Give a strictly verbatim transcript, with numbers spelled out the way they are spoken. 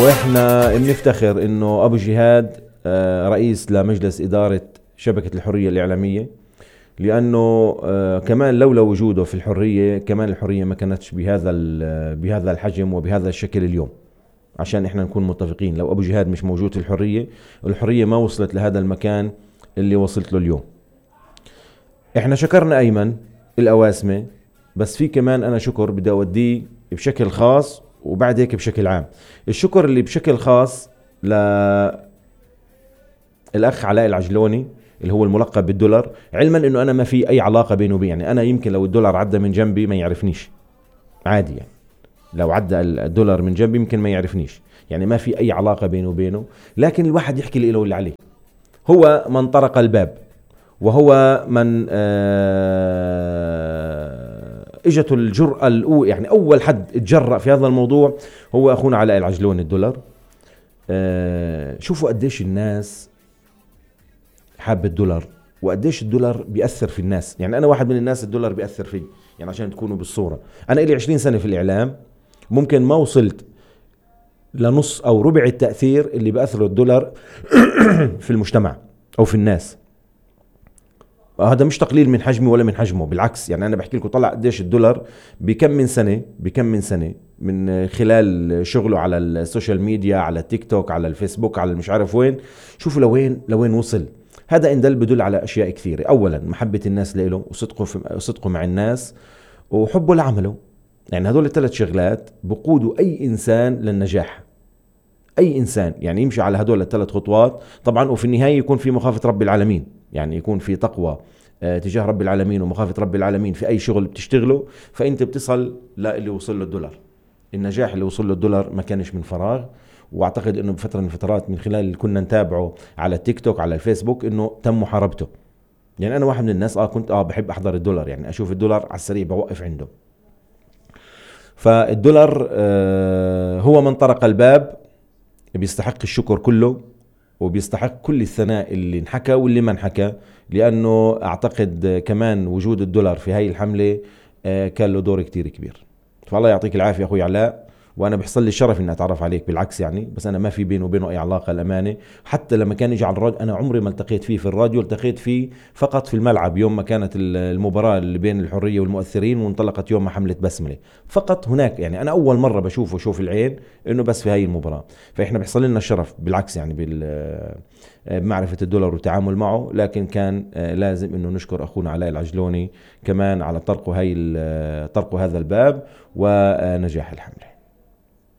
واحنا بنفتخر انه ابو جهاد رئيس لمجلس ادارة شبكة الحرية الاعلامية، لانه كمان لولا وجوده في الحرية كمان الحرية ما كانتش بهذا بهذا الحجم وبهذا الشكل اليوم. عشان احنا نكون متفقين، لو ابو جهاد مش موجود في الحرية، الحرية ما وصلت لهذا المكان اللي وصلت له اليوم. احنا شكرنا ايمن الأواسمة، بس في كمان انا شكر بدي اوديه بشكل خاص وبعد هيك بشكل عام. الشكر اللي بشكل خاص للأخ علاء العجلوني اللي هو الملقب بالدولار، علما انه انا ما في اي علاقة بينه وبين، يعني انا يمكن لو الدولار عدى من جنبي ما يعرفنيش عادي، يعني لو عدى الدولار من جنبي يمكن ما يعرفنيش، يعني ما في اي علاقة بينه وبينه. لكن الواحد يحكي له اللي عليه. هو من طرق الباب، وهو من اجته الجرأة الأولى، يعني أول حد اتجرأ في هذا الموضوع هو أخونا علاء العجلوني الدولار. أه شوفوا قديش الناس حاب الدولار وقديش الدولار بيأثر في الناس. يعني أنا واحد من الناس الدولار بيأثر فيه، يعني عشان تكونوا بالصورة. أنا إلي عشرين سنة في الإعلام، ممكن ما وصلت لنص أو ربع التأثير اللي بأثره الدولار في المجتمع أو في الناس. هذا مش تقليل من حجمي ولا من حجمه، بالعكس. يعني أنا بحكي لكم طلع قديش الدولار بكم من سنة بكم من سنة من خلال شغله على السوشيال ميديا، على التيك توك، على الفيسبوك، على مش عارف وين. شوفوا لوين لوين وصل. هذا إن دل بدل على أشياء كثيرة. أولا محبة الناس له وصدقه في صدقه مع الناس وحبه لعمله. يعني هذول الثلاث شغلات بقودوا أي إنسان للنجاح. أي إنسان يعني يمشي على هدول الثلاث خطوات طبعا، وفي النهاية يكون في مخافة رب العالمين، يعني يكون في تقوى تجاه رب العالمين ومخافة رب العالمين في أي شغل بتشتغله، فأنت بتصل للي وصل له الدولار. النجاح اللي وصل له الدولار ما كانش من فراغ. واعتقد انه بفترة من الفترات من خلال اللي كنا نتابعه على التيك توك على الفيسبوك انه تم محاربته. يعني انا واحد من الناس اه كنت اه بحب احضر الدولار، يعني اشوف الدولار على السريع بوقف عنده. فالدولار آه هو من طرق الباب، بيستحق الشكر كله وبيستحق كل الثناء اللي انحكى واللي ما انحكى، لأنه أعتقد كمان وجود الدولار في هاي الحملة كان له دور كتير كبير. فالله يعطيك العافية أخوي علاء، وأنا بحصل لي الشرف إني أتعرف عليك، بالعكس يعني. بس أنا ما في بينه وبينه أي علاقة الأمانة. حتى لما كان يجي على الراديو أنا عمري ما التقيت فيه في الراديو، التقيت فيه فقط في الملعب يوم ما كانت المباراة اللي بين الحرية والمؤثرين وانطلقت يوم ما حملة بسملة، فقط هناك. يعني أنا أول مرة بشوفه شوف العين إنه بس في هاي المباراة. فإحنا بيحصل لنا الشرف بالعكس يعني بمعرفة الدولار والتعامل معه. لكن كان لازم إنه نشكر أخونا علاء العجلوني كمان على طرقه هاي طرقه هذا الباب ونجاح الحملة.